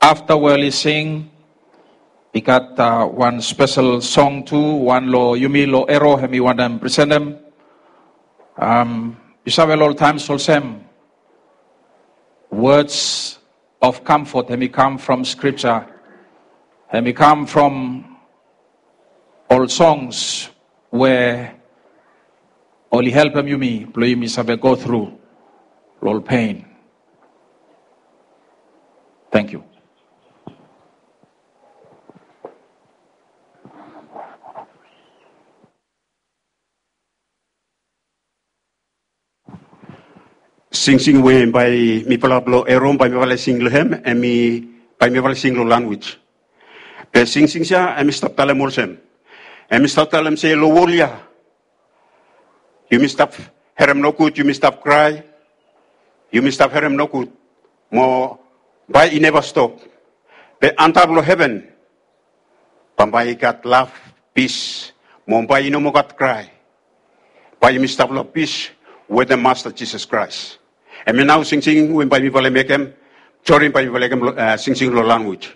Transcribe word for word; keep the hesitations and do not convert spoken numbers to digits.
afta we oli sing, i gat wan spesel song tu, wan long yumi long Ero hemi wantem presentem. Yu save long ol taem olsem, words of comfort hemi kam from Skripja, hemi kam from ol songs we oli helpem yumi blong yumi save go tru long ol pen. Tangkiu. Singsing we bae mifala blong Ero bae mifala sing long hem, hemi bae mifala sing long lanwis. Be singsing ya hemi stap talem olsem, hemi stap talem se long wol ya yumi stap harem nogud, yumi stap krae, yumi stap harem nogud, mo bae i neva stop. Be antap long heven bambae i gat lav, pis, mo bae i no moa gat krae. Bae yumi stap long pis wetem Masta Jisas Kraes. Hemia nao singsing we bae mifala mekem. Sori, bae mifala mekem singsing long lanwis.